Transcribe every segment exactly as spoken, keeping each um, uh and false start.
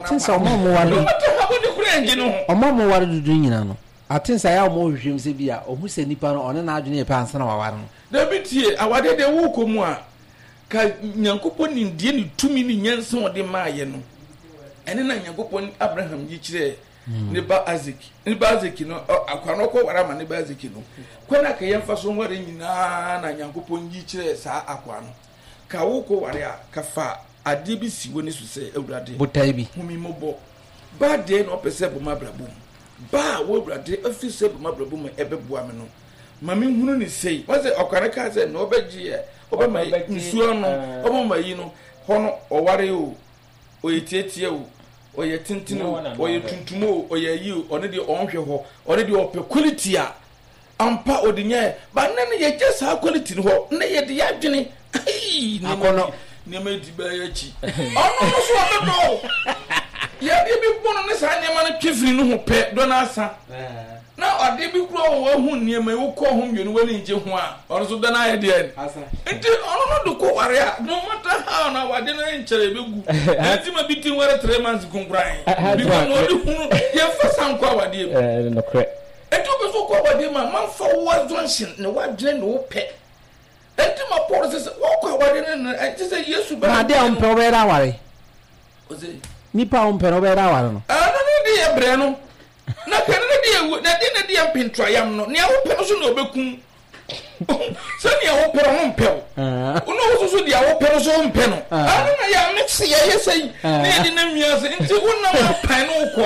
Since ɔmo a ɔmo ware No matter how wɔde kura ngye no ho. Ɔmo a ɔmo ware dodo nyinaa no, aten sɛ ayɛ a ɔmo hwehwɛ mu sɛ bi a ɔhu sɛ nipa no ɔne n'adwene yɛ pɛ ansa na waware no. Dabi, tie, awadeɛ deɛ, wokɔ mu a, ka Nyankopɔn nimdeɛ ne tumi ne nyansa a ɔde maayɛ no, ɛne na Nyankopɔn Abraham yi kyerɛ ne ba Isaac, ne ba Isaac no, ɔ- akwa no ɔkɔ ware ama ne ba Isaac no, kwan a ka yɛmfa so nware nyinaa na Nyankopɔn yi kyerɛ saa akwa no. Ka wokɔ ware a, ka fa adeɛ bi si w'ani so sɛ, Awurade, botae bi. Humi mmɔbɔ, ba deɛ na ɔpɛ sɛ bɔ m'abrabɔ mu ba a, wɔ Awurade afiri sɛ bɔ m'abrabɔ mu, ɛbɛboa me no, ma menhunu ne sei. Wɔn sɛ ɔkwa no kaa sɛ na ɔbɛgye yɛ, ɔbɛma Ɔbɛgye, nsuo ano, eh. ɔbɛma yi no hɔ no, ɔware o, ɔyɛ tietie o, ɔyɛ tenten o, Nyɛ wɔn na ɔyɛ ɔhwɛ. Tuntum o, ɔyɛ ayi o, ɔno deɛ ɔnhwɛ hɔ. Ɔno deɛ ɔpɛ quality a ampa ɔde nyɛ ba. Ne no yɛgye saa quality no hɔ ne yɛde yɛ adwene. Ai, nneɛma Akɔnɔ. bi- nneɛma di bɛyɛ akyi, ɔno no so ɔbɛdɔ o, yɛde bi bɔ no ne saa nneɛma no twe firi no ho pɛ dɔ no asa. Na ɔde bi kura wɔ wahu nneɛma yi, wokɔ ho mmienu, w'ani ngye ho a, ɔno so dɔ no ayɛ deɛ. Asa. Nti ɔno no de kɔ ware a, no matter how na wade no nkyɛrɛ ɛbɛgu. Ɛnti ma bi ti nware three months kunkuran because na ɔde hunu yɛmfa sa nkɔ awadeɛ mu. Ɛɛ, nokorɛ. Ɛnti wopɛ sɛ wokɔ awadeɛ mu a, mamfa wo assumption ne woadwene ne wopɛ. Ɛnti ma Paul sɛ sɛ wɔkɔ awadeɛ no no, ɛnti sɛ Yesu Na adeɛ a wompɛ, wobɛyɛ dɛ aware? Ɔsɛ Nipa a wompɛ no, wobɛyɛ dɛ aware no? Ɛno ne de yɛ brɛ no na kɛ no ne de yɛ na de ne de yɛ mpintoayam no, nea wopɛ no so na ɔbɛkum sɛnea wopɛ no ho mpɛ wo wo na wo soso deɛ wopɛ no so wompɛ no. Ɛno na yɛ mix, yɛyɛ sɛ yi na yɛde nam wiase, nti wonam apan no wokɔ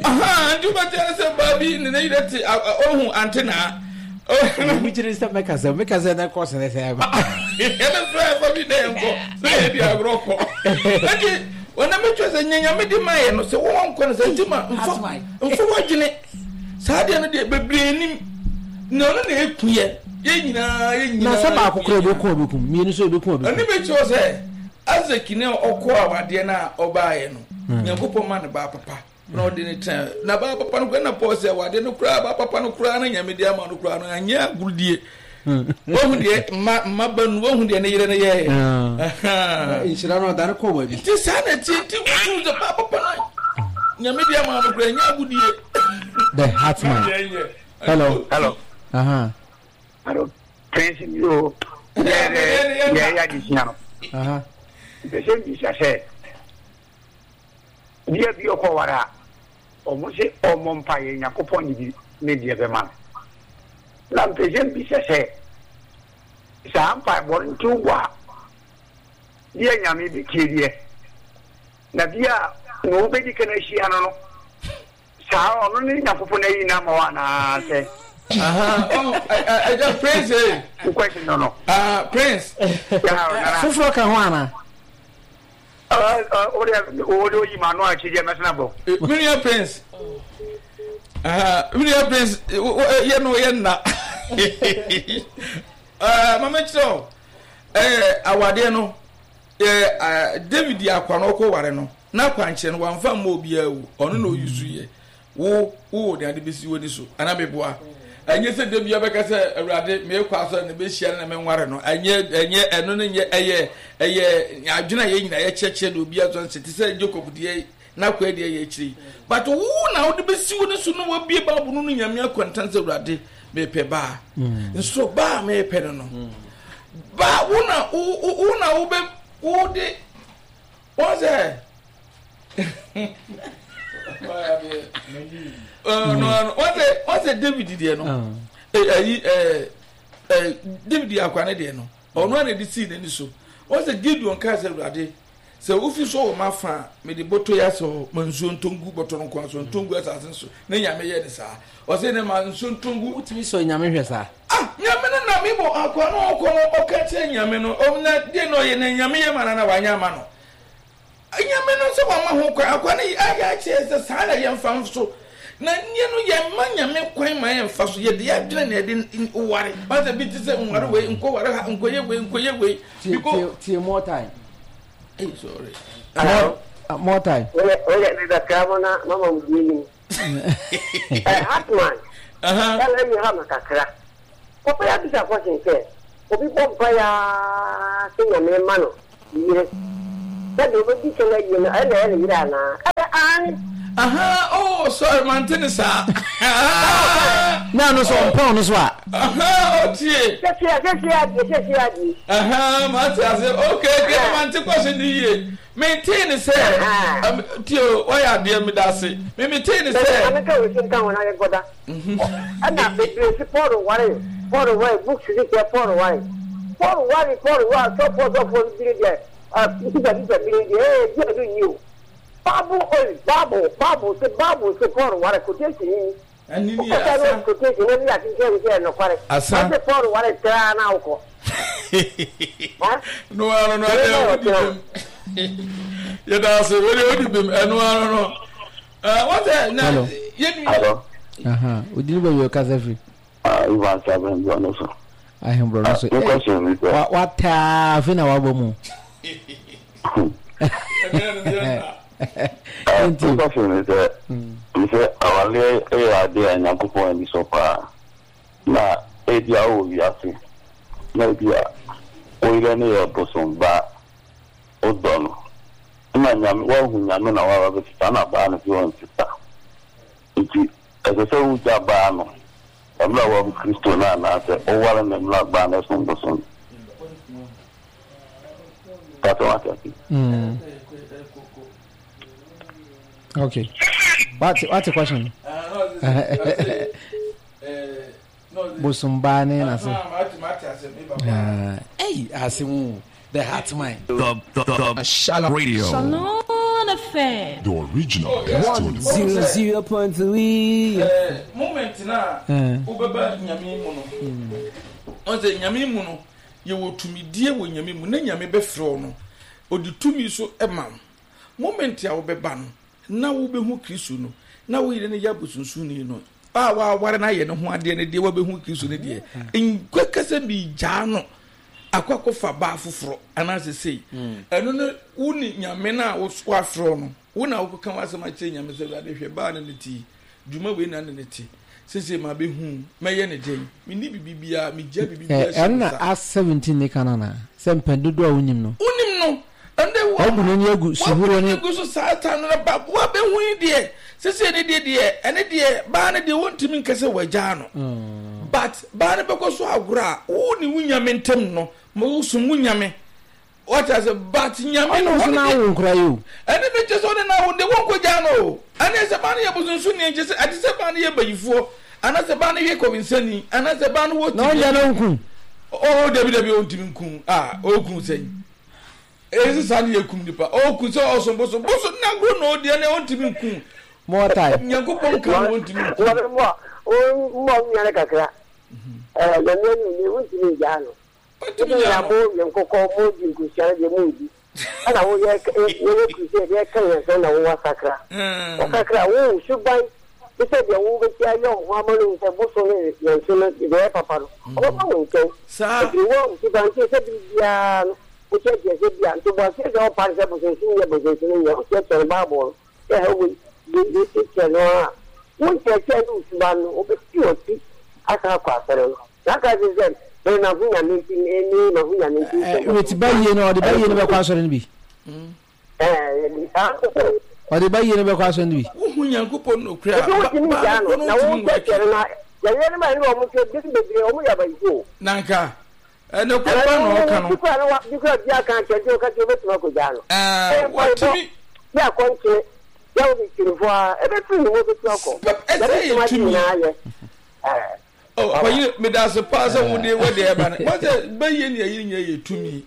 aha, nti wobɛte sɛ baa bi ne ne yerɛ te ɔhu ante naa. Obi kyerɛ sɛ mɛka sɛ mɛka sɛ na kɔ sene sɛ ɛba. Yɛne frɛ ɛfa bi na yɛnkɔ sɛ yɛdi agorɔ kɔ, nti ɔna mɛtwa sɛ nyɛ Nyame de ma yɛ no sɛ wɔnkɔ no sɛ, nti ma mfa mfa woadwene saa deɛ no deɛ bebree nim na ɔno na ɛku yɛ yɛ nyinaa, yɛ nyinaa. Na sɛ baako kora ebeku obekum mmienu so ebeku obekum. Ɛne bɛkyerɛ sɛ Isaac ne ɔkɔ awadeɛ no a ɔbaeɛ no, Nyankopɔn ma no baa papa na ɔde ne tena na baa papa no kora, na Paul sɛ awadeɛ no koraa, baa papa no koraa na Nyame de ama no koraa no, anyɛ agorodie. Wahu deɛ mma mma ba nu, wahu deɛ ne yere no yɛɛ. Nhyira no ɔdane kɔ baabi. Nti saa na ɛteɛ, nti wotu sɛ baa papa no Nyame de ama no koraa, ɛnyɛ agodie. The Heartman, hello. Hello. Uh-huh. Hello. Prince mi o. Yɛ yɛ yɛ adesua no. Uh-huh. Mpɛ sɛ mbisa sɛ bia bi ɔkɔ ware a, ɔmo sɛ ɔmmɔ mpa yɛ Nyankopɔn de bi ne deɛ bɛma no. Na mpɛ sɛ mbisa sɛ saa mpaebɔ no nti wobɔ a, bia Nyame bɛtie deɛ, na bia na wobɛdi kan ahyia no no saa ɔno ne Nyankopɔn ayi no ama wo anaa sɛ Ɛgya Prince ee. Wo question no no. Ah, Prince. Foforɔ ka ho ana? Wode oyi ma no akyi deɛ mɛsena bɔ. Me nua Prince, me nua Prince, yɛ no yɛ nna mama kyerɛ o. Awadeɛ no, David akwa no ɔkɔ ware no na akwankyerɛ no wamfa mma obiara wu, ɔno na oyi so yɛ wo wo de ade bɛsi w'ani so ana meboa. Ɛnyɛ sɛ da bia bɛka sɛ, Awurade, meekɔ asɔre na bɛhyia no na menware no. Ɛnyɛ ɛnyɛ ɛno no, nyɛ ɛyɛ ɛyɛ adwene a yɛn nyinaa yɛkyerɛkyerɛ na obi asɔ nhyɛ te sɛ Jacob deɛ n'akɔɛ deɛ yɛ akyire yi, but wo na wode bɛsi wo ne so no, wabie Bible no no Nyame akwantan sɛ, Awurade, mepɛ baa nso baa mepɛ no no baa wo na wo na wobɛ wode wɔn sɛ wɔn sɛ wɔn sɛ David deɛ no, ɛyi ɛɛ ɛɛ David akwa ne deɛ no, ɔno a na ɛde sii n'ani so. Wɔn sɛ Gideon kaa sɛ, Awurade, sɛ wofi so wɔ ma fa a, mede bɔtɔ yi asɛ hɔ, ma nsuo ntɔ ngu bɔtɔ no nko so, ntɔ ngu asase so. Ne Nyame yɛ ne saa, ɔsɛ ne ma nsuo ntɔ ngu. Wotumi sɔ Nyame hwɛ saa? Ah, Nyame no na mebɔ akwa no, ɔkɔ no ɔka kyerɛ Nyame no, ɔna deɛ na ɔyɛ na Nyame yɛ ma no na wanyɛ ama no. Nyame no sɛ wama ho kwan, akwa no ayɛ akyerɛ sɛ saa na yɛmfa so na nyɛ no, yɛma Nyame kwan ma yɛmfa so, yɛde yɛadwene na yɛde ware. Wasɛ bi te sɛ nware wei, nkɔ ware ha, nkɔyɛ wei, nkɔyɛ wei. Tie, more time. Hey, sorry. More, uh, more time. Wode wode mebɛkra mo na mama mo die nim. Eh, Hartman. Ɛna mi ha ma kakra. Papa yɛ abisa question sɛ obi bɔ mpa yaa sɛ Nyame ma no yere sɛdeɛ obɛdi kan ayie no, ɛna ɛyɛ ne yere anaa? Ɛna Aha, oh sorry mantene saa. Na no so ɔmpɔn no so a. Aha, otie. Sɛsi sɛsi adi sɛsi adi. Aha, mate ase. Okay, okay, mante question ni yie. Maintain ne sɛ tio wayɛ adeɛ meda ase. Me maintain ne sɛ. Ameka wo si nka ho na yɛnkɔda. Ɛna bebree si Paul ware, Paul ware, books ni kyɛ Paul ware. Paul ware, Paul ware, sɔfoɔ sɔfoɔ bi ne deɛ, tisa tisa bi ne deɛ, ee bi a no nyi o. Bible only, Bible, Bible se, Bible se Paul ware, quotation ni. Ɛni ni Wokɔsɛ asa. no quotation na bi akenkan sɛ nokware. Asa. Ɔse Paul ware traa na wokɔ. No ano no ɛdeɛ wodi bem. Yɛda ase wodi wodi bem ɛno ano no. Ɛɛ wɔsɛ na Hello. yɛnu. Hello. Aha, odi ni baabi ɔkasa firi. Ah, Ivan Sabin Brɔno so. Ahemborɔ no so. Me question ni sɛ. Wa wataa afei na wabɔ mu. Ah, me question ni sɛ, mi sɛ awareɛ yɛ adeɛ a Nyankopɔn ani sɔ paa. Na ebi a wowɔ wiase, na ebi a wo yere no yɛ bosom ba wodɔ no. Na Nyame wahu Nyame na waba bɛsesa na baa no sɛ ɔnsesa. Nti ɛsɛ sɛ wogya baa no mmerɛ a wahu Kristo no anaasɛ woware no mmerɛ a baa no ɛsom bosom. Pastor wate ase. Mm. Okay. What what the question? Bosombaa ne na se. Ah, Hey, asemu the heart mind. The, the, the Shalom Radio. Shalom F M. The original S twenty-four. Zero zero point three. Ɛɛ moment na Eh. wobɛba Nyame mu no. Ɔsɛ Nyame mu no yɛwɔ tumidie wɔ Nyame mu na Nyame bɛfrɛ wo no. Ɔde tumi so ɛma wo. Moment a wobɛba no na wobɛhu Kristo no na wo yere no yɛ abosonsonni no a waware no ayɛ ne ho adeɛ no deɛ wabɛhu Kristo no deɛ nkwa kasa bi gyaa no akɔ akɔfa baa foforɔ anaasɛ sei ɛno no wo ne Nyame no a wafrɛ wo no wo na wokɔka w'asɛm akyerɛ Nyame sɛ Awurade hwɛ baa no ne ti dwuma wei na ne ne te sese ma bɛhu mɛyɛ ne dɛn menni biribi biara megya biribi biara hyɛ Ɛno me na nsa. Acts seventeen ne ka no na sɛ mpɛn dodoɔ a wonim no. Wonim no ɛnde wa Wabu n'ani agu suhuro ne. Wabu so saa ta no na ba wabɛhu yi deɛ sese ne deɛ deɛ ɛne deɛ baa no deɛ wɔntumi nka sɛ wagyaa no. But baa no bɛkɔ so agorɔ a wo ne wo Nyame ntam no ma wosom wo Nyame wata sɛ but Nyame no Ɔno nso ɔno na deɛ awo nkora yi o. ɛne ne kyɛ sɛ ɔne na awo de wɔnkɔgyaa no o. Ɛne sɛ baa no yɛ bosonsonni nkyɛ sɛ ɛte sɛ baa no yɛ bayifoɔ anaasɛ baa no yɛ kɔwinsani anaasɛ baa no wɔ Na ɔnyɛ no nku. Oh, dabi dabi ɔntumi nku a ɔku sɛn ɛsɛ saa ne yɛkum nipa ɔku sɛ ɔsom bosom bosom na agorɔ na ɔdi ɛne ɔntumi nku. More time. Nyankopɔn ka no ɔntumi nku. Wɔn mu a wɔn mu nyane kakra. Ɛɛ nyame anim ni wontumi ngyaa no. Ɔntumi Wotumi nyaa na no. mo yɛ nkokɔ mo di nkosua no deɛ mo di. Ɛna woyɛ yɛyɛ crusade yɛka yɛn sɛ na wowɔ sakra. Wɔsakra wo suban te sɛ deɛ wobɛsi ayɛ wo ho ama no sɛ bosom ne yɛn so no deɛ ɛyɛ papa no. Ɔbɛba wo nkyɛn. Saa. Ɛfiri wo suban nti sɛ biribiara no wokyerɛkyerɛ sɛ bia ntoboaseɛ sɛ wɔpa no sɛ bosonsom nyɛ bosonsom nyɛ wokyerɛkyerɛ no Bible no sɛ ha wei kyerɛ no a wonkyerɛkyerɛ ne wo suban no wobɛsi ɔkyi asan akɔ asɔre no. Na aka sɛ sɛ me maho Nyame nti me maho Nyame nti. Wait ba yie no ɔde ba yie no bɛkɔ asɔre no bi. Ɔde ba yie no bɛkɔ asɔre no bi. Wohu Nyankopɔn nokorɛ a Nti wontumi ba ngyaa no no korɔ no na ntumi wokyerɛkyerɛ no nwɛke. na yɛyɛ no ma ɛne ɔmo sɛ bi bebree ɔmo yɛ abayifo o. Nanka ɛnokorɛ pa na ɔka no. Bi kora no bi kora bi aka nkyɛn nti ɔka kyerɛ obetumi akɔgyaa no. Ɛɛ watumi. Bi akɔnkyere yɛ wo de kyerefo a ebɛfiri ne mu obetumi akɔ. Ɛsɛ yɛ tumi. Nyinaa yɛ. Oh, ɔyere medase paa sɛ wode wode ɛba no wɔsɛ bɛyɛ ne ɛyere nyɛ yɛ tumi.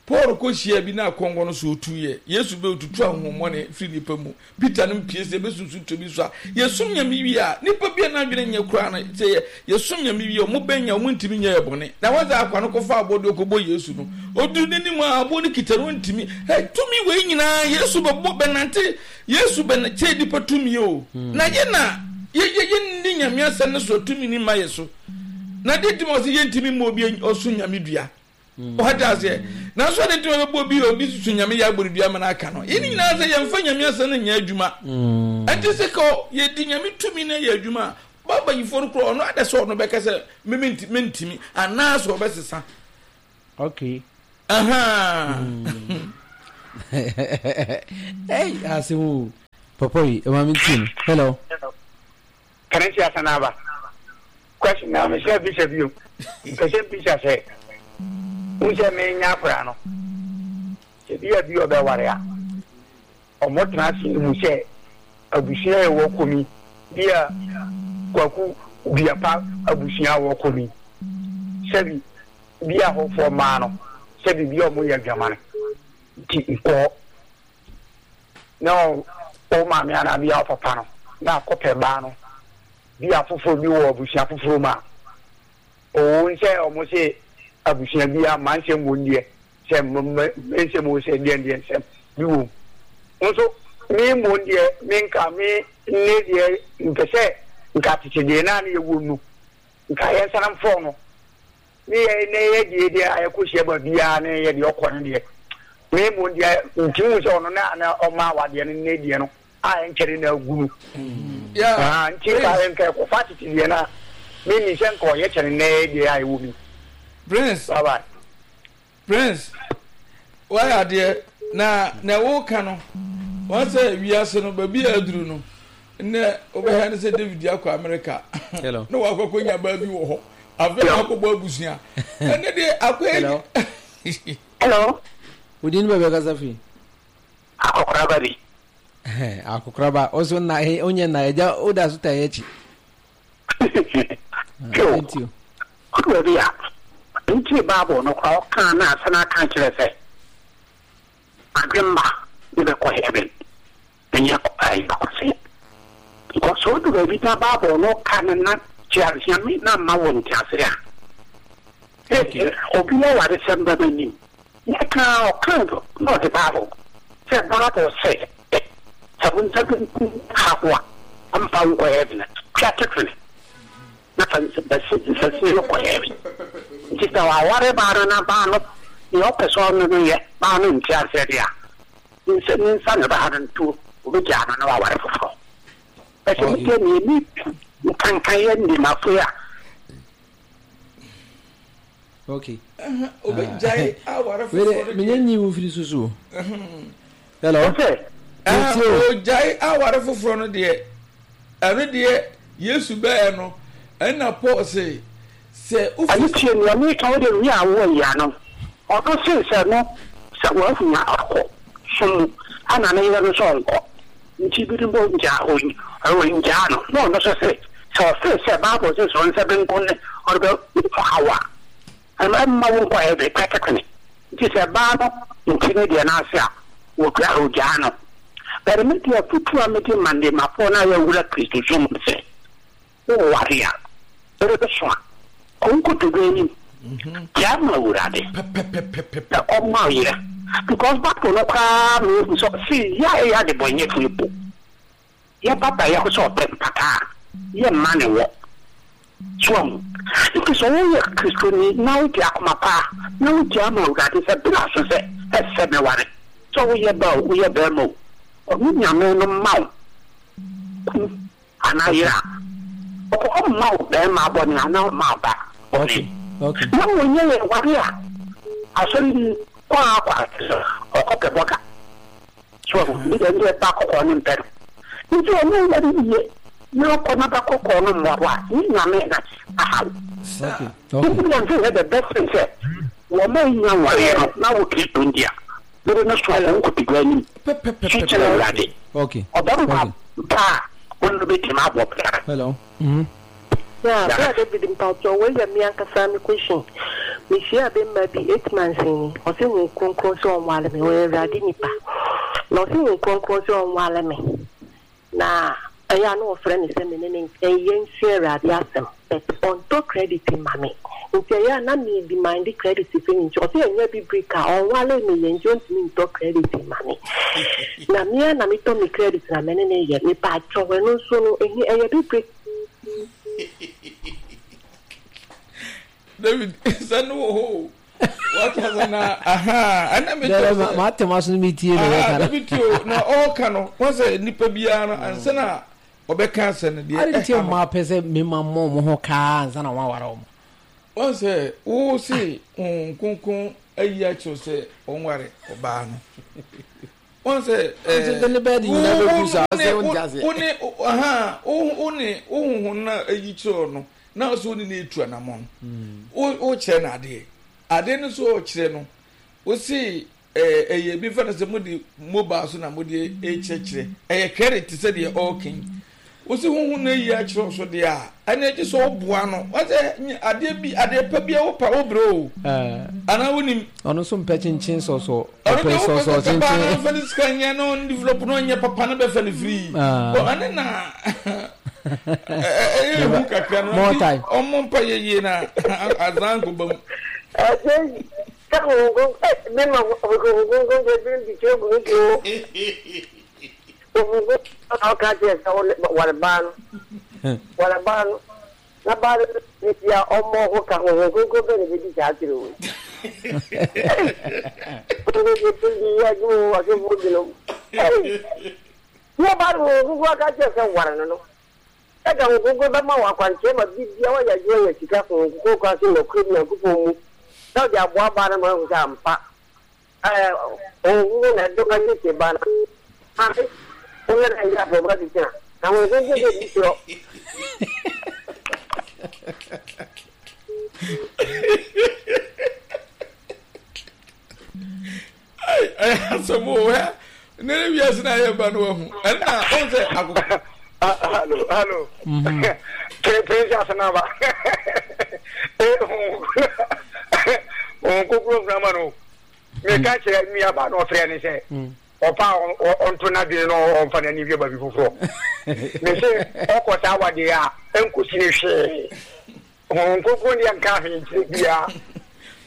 Paul kɔ hyia bi na akɔnkɔ no so otu yɛ Yesu bɛ otutu ahohommɔne firi nipa mu. Peter no mpie sɛ ɛbɛsusu tobi so a yɛsom Nyame wie a nipa bi a n'adwene nyɛ koraa no sɛ yɛ yɛsom Nyame wie a ɔmo bɛnya ɔmo ntumi nyɛ yɛ bɔne na wɔsɛ akwa no kɔfa aboɔ de ɔkɔbɔ Yesu no oduru n'anim a aboɔ no kita no ntumi ɛ tumi wei nyinaa Yesu bɛbɔ bɛnante Yesu bɛkyɛ nipa tumi o na yɛ na yɛ yɛ yɛnni Nyame asɛm no so tumi ni ma yɛ so na de ntumi ɔsɛ yɛntumi mmɔ obi ɔso Nyame dua. Wate aseɛ nanso ade ntumi bɛbɔ obi obi susu Nyame yɛ abɔ ne dua ma no aka no yɛn nyinaa sɛ yɛmfa Nyame asɛm no nyɛ adwuma ɛnti sɛ kɔ yɛdi Nyame tumi no yɛ adwuma a babayifoɔ no korɔ ɔno ada sɛ ɔno bɛka sɛ me mentimi anaasɛ ɔbɛsesa. Okay. Aha. Hey, asemu. Papa yi, ɛma mi tie. Hello. Kɛnɛsi asanaba. Question na me sɛ bisa bio. Kɛsɛ bisa sɛ. Wo sɛ me nya akora no. Sɛ bi a bi ɔbɛware a. Ɔmo tena ase mu sɛ abusua yɛ wɔ komi. Bi a kwaku biapa abusua wɔ komi. Sɛbi bi a hɔfoɔ mmaa no. Sɛbi bi a ɔmo yɛ adwamane. Nti nkɔɔ. Na o maame ana bi a papa no. Na akɔpɛ baa no. Bi a foforɔ bi wɔ abusua foforɔ mu a. Owu nsɛ ɔmo se abusua bi a mansɛm wɔ ndeɛ sɛ mmɛnsɛm wɔ sɛ deɛ deɛ nsɛm bi wɔ mu. Nso me mmɔ deɛ me nka me nne deɛ mpɛ sɛ nka tete deɛ naa ne yɛ wɔ mu nka yɛn nsanamfoɔ no ne yɛ ne yɛ deɛ deɛ a yɛkɔ hyia ba biara ne yɛ deɛ ɔkɔ ne deɛ me mmɔ deɛ nti hu sɛ ɔno na na ɔma awadeɛ no ne deɛ no a ɛnkyɛre na agu no. Ah, nti nka nka ɛkɔfa tete deɛ na me ni sɛ nka ɔyɛ kyɛne ne deɛ a ɛwɔ mu. Prince. Bye bye. Prince, why adeɛ na na woka no wɔn sɛ wiase no baabi a aduru no nnɛ wobɛhɛ ne sɛ David akɔ America na wakɔkɔ nya baa bi wɔ hɔ afei na akɔbɔ abusua ɛne deɛ akɔ. Hello. Wodin bɛbɛ kasa fi. Akɔkoraba bi. Akɔkoraba ɔso na onye na ɛgya oda so ta yɛ akyi. Thank you. Bi a nti Bible no kora ɔka na asana aka kyerɛ sɛ adwemma ne bɛkɔ heaven ɛnyɛ akɔse because so do baabi na Bible no ka no na kyerɛ me na mma wɔ ntease a obi aware sɛm bɛba nim yɛka ɔka na ɔde Bible sɛ Bible sɛ sɛ wo nsa benkum ha ho a ɔmfa wo nkɔ heaven twa tetene na fa nsɛsɛ no kɔ heaven nti sɛ waware baa no na baa no deɛ ɔpɛ sɛ ɔno no yɛ baa no nte aseɛ deɛ a nsa ne nsa ne baa no nto obɛgyaa no na waware foforɔ ɛsɛ medeɛ neɛni nkankan yɛ nnemafoe a okay obɛgyae aware foforɔ menyɛ nyi wo firi susu. Hello. Ogyae aware foforɔ no deɛ ɛno deɛ Yesu bɛɛ no ɛna Paul se sɛ ofi tie nea meka wo de wi a wo ya no ɔno se sɛ no sɛ wahunya akɔ som ana ne yere no so nkɔ nti bi no ngya o ngya no no no so se sɛ ɔse sɛ Bible se so nsɛ benko ne ɔde bɛ hawa ɛma mma wo nkɔ ɛbɛ pɛtɛkene nti sɛ baa no nti ne deɛ no ase a wɔdwa ogyaa no bɛrɛ me deɛ futu a mede ma ndemafoɔ no a yɛwura Kristo som sɛ woware a bɛrɛ bɛso a kɔnkotodwe anim gyaa ma Awurade na ɔma wo yerɛ because Bible no koraa ma yɛhu sɛ ɔse yɛ a ɛyɛ adebɔnyɛfoɔ po yɛbaba yɛ ho sɛ ɔpɛ mpata a yɛmma ne wɔ so ahu nti sɛ woyɛ Kristoni na wode akoma paa na wogyaa ma Awurade sɛ berɛ aso sɛ ɛsɛ mɛware sɛ woyɛ ba o woyɛ bɛrima o ɔno Nyame no ma wo ku anaa yerɛ a ɔkɔ ɔmma wo bɛrima abɔne anaa ɔmma wo ba bɔne na wɔnyɛ yɛ ware a asɔre ni kɔ akɔ ɔkɔpɛ bɔga so ne deɛ ne ba kɔkɔɔ ne mpɛ no nti ɔno ware yie na ɔkɔ na ba kɔkɔɔ no mmoa a ne Nyame na ahaw. Nti wɔn sɛ yɛ the best thing sɛ wɔn a nya wareɛ no na wɔ Kristo ndi a bere no so a wɔn nkotodwe anim so kyerɛ Awurade ɔbɛma pa a wɔn no bɛtumi abɔ bra. Hello. Yeah, bra David Mpacho, we ya mi ankasa mi question. Me share be ma bi eight months ni. Ɔse wo kronkron so onwale me, we Awurade nipa. Na ɔse wo kronkron so onwale me. Na ɛyɛ a na wɔfrɛ me sɛ me ne ne ɛyɛ nsua Awurade asɛm. But ɔntɔ credit ma me. Nti ɛyɛ a na me demand credit fi ne nkyɛn. Ɔse ɛnyɛ bibiri ka ɔnwale me yɛ nti ɔntumi ntɔ credit ma me. Na me a na metɔ me credit na me ne ne yɛ. Mepa atwɔ ɛno nso no ɛhi ɛyɛ bibiri. David sɛ no wɔ hɔ wata na aha ɛna me tɔ ma atɛm aso no mi tie na yɛ David tio na ɔɔka no wɔn sɛ nipa biara no ansa na ɔbɛka asɛ no deɛ ɛha no ade mmaa pɛ sɛ mema mmɔ mo ho kaa ansa na wɔaware wɔn wɔn sɛ wo se honhom kronkron ayi akyerɛ sɛ ɔnware ɔbaa no Wɔn sɛ ɛɛ ne bɛɛ de nyinaa bɛ gu so a ɔsɛ wɔn ti ase. Wo ne ahan wo ne wo huhu na eyi kyerɛ no na ɔsɛ wo ne ne etu anamɔn. Wo wo kyerɛ no adeɛ adeɛ no so ɔkyerɛ no wosi ɛɛ ɛyɛ bi fɛn sɛ mo de mobile so na mo de ekyerɛkyerɛ ɛyɛ credit sɛ deɛ ɔɔken wosi huhu na eyi akyerɛ so deɛ a ɛna egye so ɔboa no wɔsɛ adeɛ bi adeɛ pa bi a wopa wo brɛ o anaa wonim. Ɔno nso mpɛ kyenkyen sɔsɔ. Ɔno Ɔpɛ deɛ wopɛ sɔsɔ sɛ papa kyenkyen. na ɔmfa ne sika nyɛ na ɔndevelop na ɔnyɛ papa no bɛfa no firi ɔne na ɛyɛ hu kakra no. More time. Ɔmmɔ mpa yɛ yie na azan nkɔba mu. Ɛsɛ sɛ honhom ɛ bɛma honhom kronkron deɛ bi bi kyerɛ gu ne so honhom kronkron na ɔka kyerɛ sɛ ɔne ware baa no ware baa no na baa no ne bia ɔmmɔ ho ka. Honhom kronkron bɛ na bɛdi saa kyerɛ wo honhom kronkron bi yɛ adwuma wɔ asɔfoɔ binom wɔ baa no. Honhom kronkron aka kyerɛ sɛ ware no no ɛka honhom kronkron bɛma wɔ akwankyerɛ ma bibia wɔyɛ adwuma yɛ sika honhom kronkron kwan so nɔkorɛ mu Nyankopɔn mu na ɔde aboa baa no ma ahu sɛ ampa ɛɛ honhom kronkron na ɛdɔ ka siesie baa no ame wonyɛ dɛ nyɛ afɔba tete a na honhom kronkron bɛ di torɔ. Ɛyɛ asɛm o hɛ ne ne wiase na ayɛ ba no wahu ɛnna ɔn sɛ akoko. Hello, hello. Prince Asenaba. Eh, ohun kokoro nframa no. Meka kyerɛ nua ba na ɔfrɛ ne sɛ ɔpa a ɔnto n'adwene na ɔmfa n'ani hwɛ baabi foforɔ. Mese ɔkɔ saa awadeɛ a ɛnkɔsi ne hwee. Honhom Kronkron deɛ nka hwee nkyerɛ biara.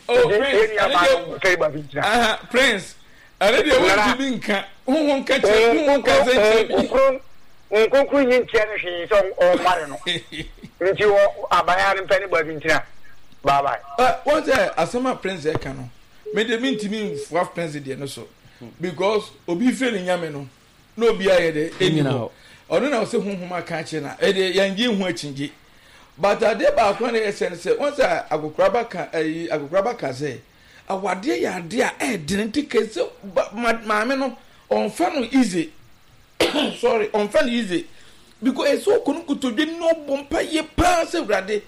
Oh, Nti Prince, yɛn nua ɛne ba deɛ no mfɛre baabi nkyerɛ. Aha, Prince, ɛne deɛ wontumi nka honhom nka kyerɛ honhom nka sɛ nkyerɛ bi. Honhom Kronkron nyi nkyerɛ no hwee sɛ ɔnware no. Nti wɔ abaayewa no mpɛ ne baabi nkyerɛ. Bye bye. Ɛ wɔn sɛ asɛm a Prince ɛka no, me de mi ntumi nfoa Prince deɛ no so because obi firi ne nyame no na obi ayɛ dɛ ɛni hɔ ɔno na ɔsɛ honhom aka akyerɛ na ɛdeɛ yɛn gye ho akyingye, but adeɛ baako a na yɛ sɛ no sɛ wɔn sɛ akokoraba ka ɛyi akokoraba ka sɛ awadeɛ yɛ adeɛ a ɛɛdene nti kɛse ba ma maame no ɔnfa no easy, sorry, ɔnfa no easy because ɛsɛ ɔkɔ no kotodwe ne ɔbɔ mpa yie paa sɛ Awurade,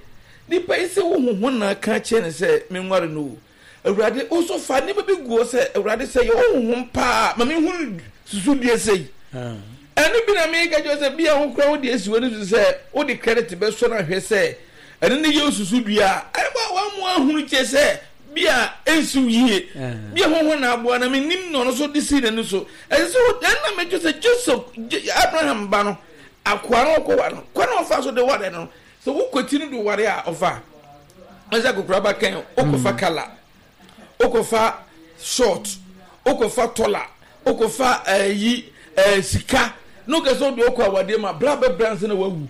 nipa yi sɛ wohu ho na aka akyerɛ no sɛ menware no o, Awurade woso fa nneɛma bi gu hɔ sɛ Awurade sɛ yɛ honhom paa ma mehu susudua sɛ yi ɛno bi na meka kyerɛ sɛ bia wo kora wode asi w'ani so sɛ wode credit bɛsɔ no ahwɛ sɛ ɛno ne yɛ susudua a ɛwa wamu ahunu kyerɛ sɛ bia ɛnsiw yie bia honhom na aboa na menim na ɔno so de sii n'ani so ɛsɛ sɛ wo ɛna metwe sɛ Joseph Abraham ba no akoa no ɔkɔ wa no kwan a ɔfa so de ware no sɛ wokɔti no de ware a ɔfa ɛsɛ akokoraba kɛn wokɔfa kala wokɔfa short wokɔfa tɔla wokɔfa ɛyi ɛɛ sika ne wokɛ sɛ wode wokɔ awadeɛ mu a bra bɛbrɛ nsa na wawu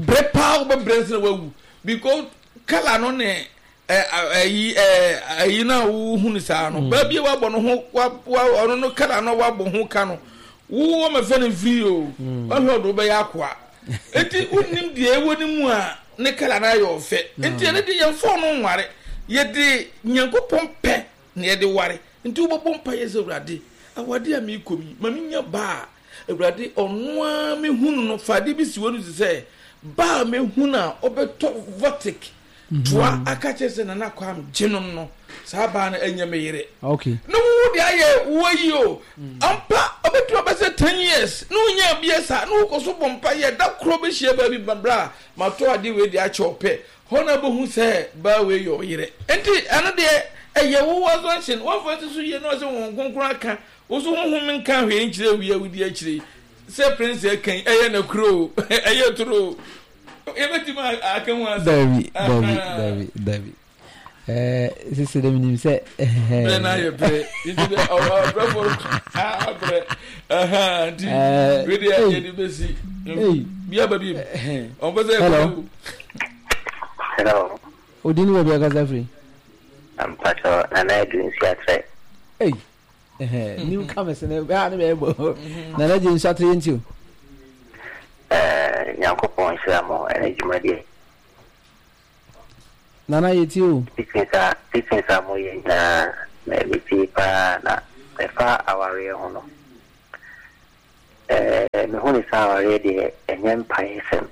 brɛ paa wobɛbrɛ nsa na wawu because kala no ne ɛyi ɛɛ ɛyi na wohu no saa no baabi a wabɔ no ho wa wa ɔno no kala no wabɔ ho ka no wo wɔn mɛfɛ no mfiri o wahwɛ ɔdo wobɛyɛ akoa eti wonim deɛ ɛwɔ ne mu a ne kala no ayɛ ɔfɛ nti ɛno de yɛn fɔn no nware yɛde Nyankopɔn pɛ na yɛde ware nti wobɛbɔ mpa yɛ sɛ Awurade awade a meekɔ mi ma menya baa Awurade ɔno a mehunu no fa ade bi si wɔ no sɛ baa mehunu a ɔbɛtɔ votic toa aka kyerɛ sɛ Nana Kwam gye no no saa baa no ɛnyɛ me yere Okay. Na wo de ayɛ wo ayi o ampa ɔbɛtumi abɛsɛ ten years na wonya bia saa na wokɔ so bɔ mpa yɛ da korɔ bɛhyia baabi bra a matɔ ade wei de akyɛ ɔpɛ hɔ na bɛhu sɛ baa wei yɛ ɔyere nti ɛno deɛ ɛyɛ wo assumption wɔmfa nsi so yie na ɔsɛ wɔn kronkron aka wo so honhom nka hwee nkyerɛ wie a wodi akyire yi sɛ Prince ɛka yi ɛyɛ nokorɛ o ɛyɛ toro o yɛbɛtumi aka ho asɛm. Dabi, dabi, dabi, dabi. Ɛɛ sisi dɛ minim sɛ. Brɛ na ayɛ brɛ nti dɛ ɔbrɛfo abrɛ nti wei deɛ yɛde bɛsi bia ba bi ɔmpɛ sɛ Hello. Hello. Odi ni baabi akasa firi. Mpatsɔ Nana Adu Nsuatrɛ. Ei. New comers ne bɛa ne bɛyɛ bɔ. Nana Adu Nsuatrɛ yɛn ti o. Ɛɛ Nyankopɔn nhyira mo ɛne dwumadie. Nana yɛ ti o. Teachings a teachings a mo yɛ nyinaa na ɛmi tie paa na Ɛfa awareɛ ho no. Eh, mehu ne sɛ awareɛ deɛ ɛnyɛ mpaeɛ sɛm.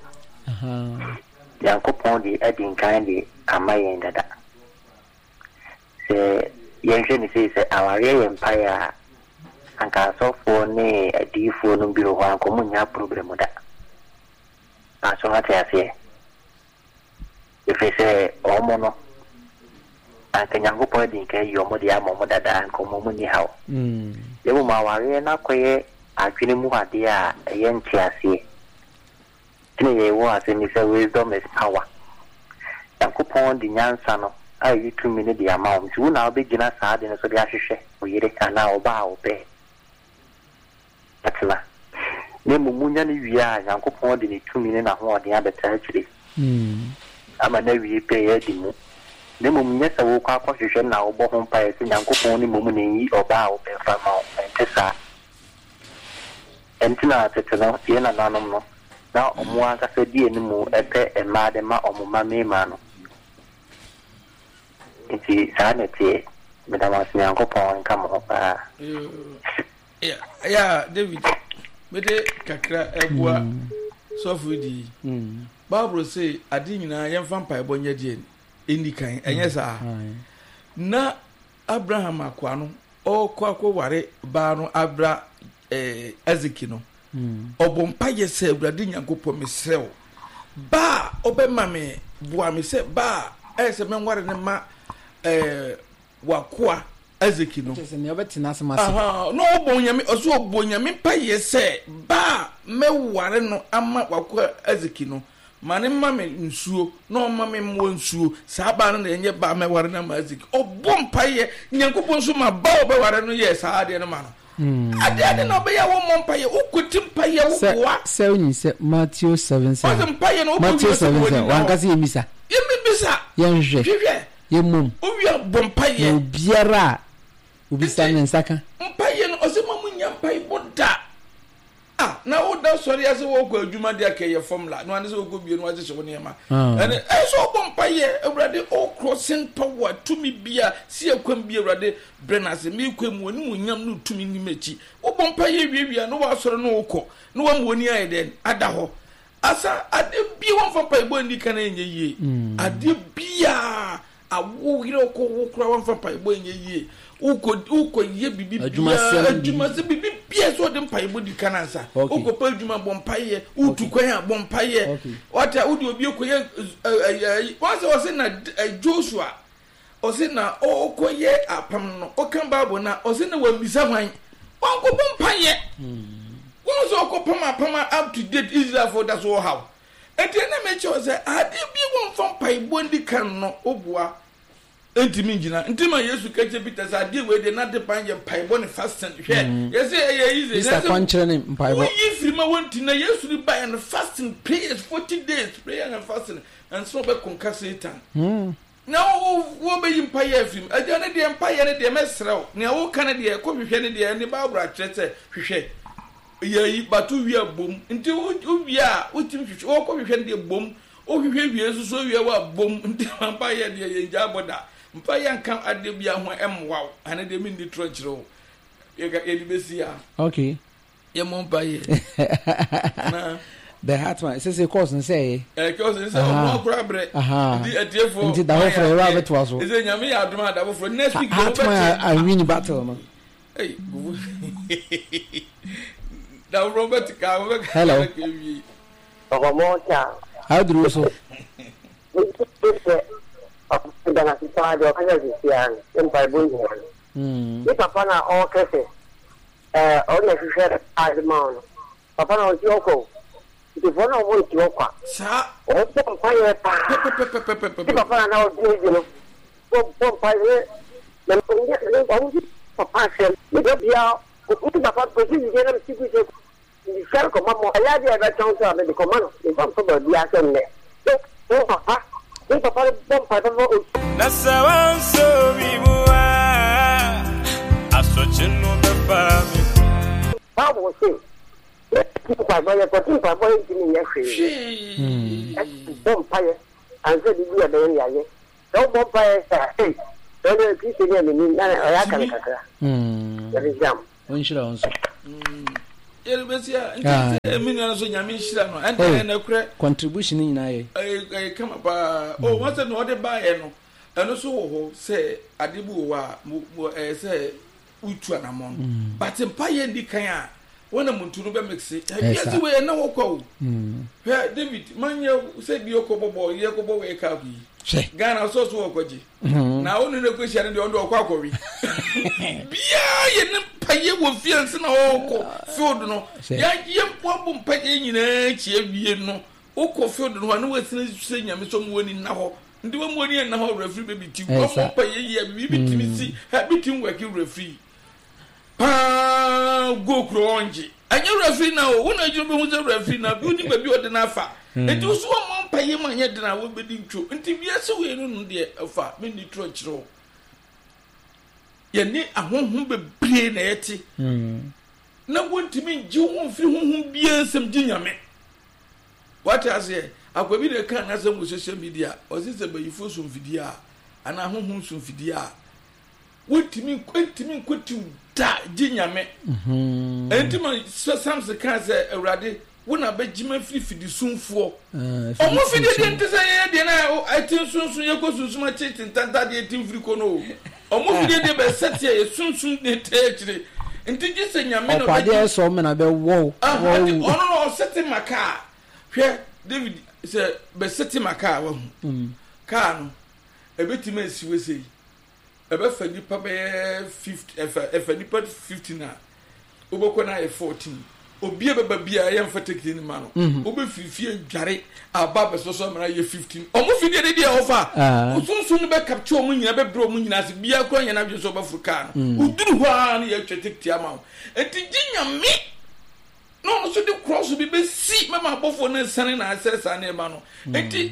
Nyankopɔn de adi nkan de ama yɛn dada. Sɛ yɛnhwɛ ne sei sɛ awareɛ yɛ mpaeɛ a anka asɔfoɔ ne adiyifoɔ no bi wɔ hɔ anka ɔmo nnya problem da. Aso ate aseɛ. Ɛfiri sɛ ɔmo no anka Nyankopɔn adi nkan yi ɔmo de ama ɔmo dada anka ɔmo ɔmo nni haw. Na mmom awareɛ no akɔyɛ adwene mu adeɛ a ɛyɛ nteaseɛ. Nti na yɛwɔ asɛm yi sɛ wisdom is power. Nyankopɔn de nyansa no a ɛyɛ tumi no de ama wo. Nti wo na wobɛgyina saa ade no so de ahwehwɛ wo yere anaa ɔbaa a wopɛ atena. Na mmom wonya no wie a Nyankopɔn de ne tumi ne n'ahoɔden abɛtaa akyire. Ama no awie pɛɛ adi mu. Na mmom nyɛ sɛ wokɔ akɔhwehwɛ na wobɔ ho mpaeɛ sɛ Nyankopɔn ne mmom na ɛnyi ɔbaa a wopɛ mfa ma wo. Ɛnte saa. Ɛnti na tete no yɛn nananom no na ɔmo ankasa di anim ɛpɛ mmaa de ma ɔmo mma mmarima no. Nti saa na ɛteɛ. Meda mo ase Nyankopɔn nka mo ho paa. Yeah, David, mede kakra ɛboa sɔfo di. Bible say ade nyinaa yɛmfa mpaebɔ nyɛ deɛ ɛnni kan, ɛnyɛ saa. Na Abraham akoa no ɔkɔ akɔware baa no abra eh, Isaac no. Ɔbɔ mpaeɛ sɛ Awurade Nyankopɔn mesrɛ wo baa ɔbɛma me boa me sɛ baa ɛyɛ sɛ menware ne ma eh, wakoa Isaac no. Kyerɛ sɛ nea ɔbɛtena ase ma se. Aha, na ɔbɔ Nyame, ɔso ɔbɔ Nyame mpaeɛ sɛ baa mɛware no ama wakoa Isaac no ma ne ma me nsuo na ɔma me mmoa nsuo saa baa no na ɛnyɛ baa mɛware no ama Isaac. Ɔbɔ mpaeɛ Nyankopɔn nso ma baa ɔbɛware no yɛ saa adeɛ no ma no. Adeɛ ade na ɔbɛyɛ a wɔmmɔ mpaeɛ wokɔti mpaeɛ woboa. Sɛ wonim sɛ Matthew seven seven. Ɔsɛ mpaeɛ no wokɔ Matthew wiase seven wɔ seven ni na hɔ. wankasa yɛmmisa. Yɛmmisa. Yɛnhwehwɛ. Hwehwɛ. Yɛmmom. Owia bɔ mpaeɛ. Na obiara a obisa ne nsa ka. Mpaeɛ no ɔsɛ ma mo nya mpaebɔ da. Ah, na woda sɔre ase wɔkɔ adwuma de aka yɛ formula na wane sɛ wokɔ bie no wahyehyɛ wo nneɛma. Ɛne ɛsɛ ɔbɔ mpaeɛ Awurade ɔkrɔsen power tumi bia si akwan bi Awurade brɛ no ase meekɔ mu anim onyam no tumi nim akyi. Wobɔ mpaeɛ wiawia na wasɔre na wokɔ na wama w'ani ayɛ dɛn ada hɔ. Asa ade bi wɔmfa mpaebɔ nni kan ɛnyɛ yie. Ade bia awo yerɛ wokɔ wo kora wɔmfa mpaebɔ ɛnyɛ yie. Wokɔ wokɔ yɛ bibi Adwumasɛm biara adwumasɛm bibi bia sɛ ɔde mpaebɔ di kan ansa. Okay. Wokɔ pɛ adwuma bɔ mpaeɛ, wotu kwan a bɔ mpaeɛ. Okay. Wata wode obi kɔyɛ ɛɛ wɔn sɛ ɔsɛ na Joshua ɔsɛ na ɔkɔyɛ apam no ɔka Bible na ɔsɛ na wambisa hwan wankɔ bɔ mpaeɛ. Wɔn sɛ ɔkɔ pam apam up to date Israelfoɔ da so wɔ haw. Enti ɛna mekyerɛ sɛ adeɛ bi wɔmfa mpaebɔ ndi kan no woboa ntumi ngyina. Nti ma Yesu ka kyerɛ Peter sɛ adeɛ wei deɛ n'ade ban yɛ mpaebɔ ne fasting. Hwɛ yɛsɛ ɛyɛ easy. Mr. Kwankyerɛ ne mpaebɔ. Woyi firi ma wɔnti na Yesu ni baeɛ no fasting prayers forty days prayer and fasting ansa ɔbɛkonka Satan. Na wo wo bɛyi mpaeɛ afiri mu. Agya ne deɛ mpaeɛ ne deɛ mɛsrɛ wo. Nea woka ne deɛ kɔ hwehwɛ ne deɛ ne Bible akyerɛ sɛ hwehwɛ. Yɛyi bato wie a bom. Nti wo wie a wotumi hwehwɛ wɔkɔ hwehwɛ ne deɛ bom. Wohwehwɛ wie nso so wie wa bom. Nti mpaeɛ deɛ yɛn gya abɔ da. Mpaeɛ nka adeɛ bi ho ɛmmoa wo. Ane deɛ menni torɔ nkyerɛ wo. Yɛka yɛde bɛsi ha. Okay. Yɛmmɔ mpaeɛ. Na The Heartman sɛ sɛ course no sɛ ɛyɛ. Ɛ course no sɛ ɔmo akora brɛ. Nti atiefoɔ. Nti da foforɔ yɛrɛ abɛtoa so. Ɛsɛ Nyame yɛ adom a da foforɔ next week. Heartman a win battle no. Hey, da foforɔ bɛte kaa wɔbɛka. Hello. Ɔkɔmɔ ta. Aduru so. Ne papa na ɔkɛsɛ ɛɛ ɔna hwehwɛ ade ma no papa na ɔsi ɔkɔ nti fɔ na ɔmo nti ɔkɔ a saa ɔmo bɔ mpaeɛ paa pɛpɛpɛpɛpɛ ne papa na na ɔdi edi no bɔ bɔ mpaeɛ na ɔmo si papa asɛm ne bɛ bia ne papa kɔsi yie na si fi sɛ sɛre kɔma mɔ ɛyɛ adeɛ a ɛbɛtɔn so a mede kɔma no mefa mfa baabi asɛ nnɛ ne papa ne papa no bɔ mpaeɛ papa o Na sɛ wansɔ mi mu a, asɔkye no bɛfa me. Bible se mpaebɔ yɛ kɔte mpaebɔ yɛ ntumi nyɛ hwee hwee bɔ mpaeɛ ansa biribi a ɛbɛyɛ yɛayɛ sɛ wobɔ mpaeɛ sɛ ei sɛ wode Kristo ne a menim na ɔyɛ aka no kakra. Mm. Nyame nhyira mo. Ɔnhyira wo nso. Yɛrebɛsi a nti sɛ me nua no so Nyame nhyira no ɛnta Oh, yɛ nokorɛ. Contribution no nyinaa yɛ. Ɛyɛ ɛyɛ kama paa. Oh, wɔn sɛ nea ɔde baeɛ no ɛno so wɔ hɔ sɛ ade bi wɔ hɔ a mo mo ɛyɛ sɛ wotu anamɔn. But mpaeɛ nni kan a wɔn na muntu no bɛ mixe. Wiase wei ɛna hɔ kwa o. Hwɛ David manyɛ sɛ bi ɔkɔ bɔ bɔɔl yɛ kɔ bɔ wei cup yi. Hwɛ. Ghana sɔ so ɔkɔ gye. Na wo ne no kɔ hyia no deɛ ɔno deɛ ɔkɔ akɔwe. Biara yɛ ne mpaeɛ wɔ fie ansa na ɔkɔ field no. Yɛ yɛ mpo abɔ mpaeɛ nyinaa akyi awie no wokɔ field no hɔ a na wasene sɛ Nyame sɛ ɔmo ani nna hɔ. Nti wɔn ani nna hɔ referee bɛbi ti. Wɔn mpaeɛ yie a biribi tumi si. Bi tumi wɛke referee. Paa go kuro ɔngye. Ɛnyɛ referee na o, wo na adwuma bɛhu sɛ referee na bi wonim baabi ɔde no afa. Nti wo so wɔmmɔ mpaeɛ mu anyɛ den a wɔbɛdi ntwo. Nti wiase wei no no deɛ ɛfa menni torɔ nkyerɛ wo. Yɛne ahonhom bebree na yɛte. Na wontumi ngye wo ho mfiri honhom biara nsam gye Nyame. Wate aseɛ? Akwa bi na ɛka n'asɛm wɔ social media, ɔse sɛ bayifoɔ so mfidie a, anaa honhom so mfidie a, wontumi ntumi nkwatiw da gye Nyame. Ɛnti ma Samson kaa sɛ, Awurade, wo na bɛgye me afiri fidisumfoɔ. Ɔmo fidie deɛ nte sɛ yɛyɛ deɛ na ɛte nsonson yɛkɔ sunsum akyekye ntanta deɛ ɛte mfiri kɔ no o. Ɔmo fidie deɛ bɛsɛte a yɛsunsum ne tɛ akyire. Nti gye sɛ Nyame na ɔbɛgye. Ɔkwadeɛ sɛ ɔmo na bɛwɔ wo. Ɔno na ɔsɛte ma kaa. Hwɛ David sɛ bɛsɛte ma kaa wahu. Kaa no ɛbɛtumi asi wɔ sei. Ɛbɛfa nipa bɛyɛ fifty ɛfa ɛfa nipa fifteen a wobɛkɔ no ayɛ fourteen. Obi a bɛba biara yɛmfa tekiti no ma no. Wobɛfiri fie dware aba abɛsɔ so ama no ayɛ fifteen. Ɔmo fidie de deɛ ɔfa. Osunsun no bɛ capture ɔmo nyinaa bɛbrɛ ɔmo nyinaa ase. Biara koraa nyɛ n'adwene sɛ ɔbɛforo kaa no. Woduru hɔ ara no yɛatwa tekiti ama wo. Nti gye Nyame na ɔno nso de cross bi bɛsi mɛma abɔfoɔ no asiane na asɛ saa nneɛma no. Nti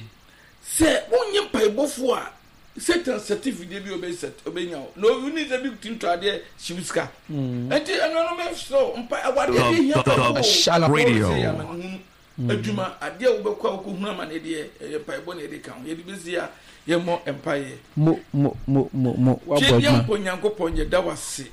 sɛ wonyɛ mpaebɔfoɔ a Satan certificate bi obe set obe nya no you need bi tin to ade hyiw sika enti ɛno no me so mpa awade de hia pa Shalom Radio adwuma ade a wobɛkɔ a wokɔhunu ama ne deɛ ɛyɛ mpaebɔ na yɛde ka ho yɛde bɛsi a yɛmmɔ mpaeɛ mo mo mo mo mo wabɔ adwuma adwuma mpo Nyankopɔn yɛda wase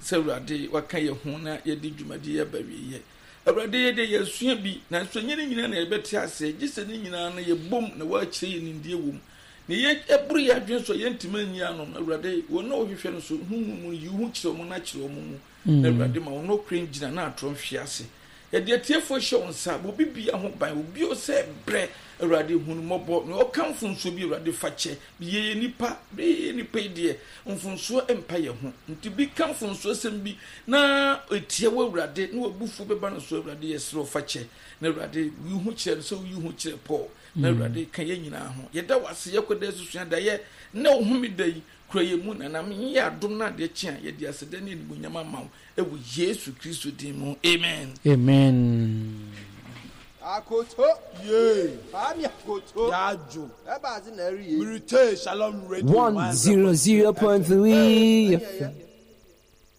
sɛ Awurade waka yɛ ho na yɛde dwumadi yɛ ba wieɛ. Awurade yɛde yɛsua bi nanso ɛnyɛ ne nyinaa na yɛbɛte aseɛ gye sɛ ne nyinaa no yɛbom na woakyerɛ yɛ nimdeɛ wɔ mu. Ne yɛ ɛboro yɛ adwene so yɛntumi anyi ano no Awurade wɔn na wɔhwehwɛ no so huhu mu yi ho kyerɛ wɔn na kyerɛ wɔn mu na Awurade ma wɔn nɔkorɛ ngyina na atorɔ nhwe ase. Yɛde atiefoɔ hyɛ wɔn nsa bɔ obi bia ho ban obi o sɛ brɛ Awurade hu no mmɔbɔ nea ɔka mfonsoɔ bi Awurade fa kyɛ yɛyɛ nipa yɛyɛ nipa yi deɛ mfonsoɔ mpa yɛ ho nti bi ka mfonsoɔ sɛm bi na etia wɔ Awurade na wabufuo bɛba no so Awurade yɛsrɛ fa kyɛ na Awurade yi ho kyerɛ no sɛ woyi ho kyerɛ Paul na Awurade ka yɛn nyinaa ho yɛda wase yɛkɔda asusua da yɛ na wo home da yi kura yɛ mu nanam yɛ adom no adeɛ kye a yɛde aseda ne animuonyam ama wo ɛwɔ Yesu Kristo din mu amen. Amen. Akoto. Yay. Kwame Akoto. Yajo. Eba zi na eri ye. Mirite Shalom Radio one zero zero point three F M.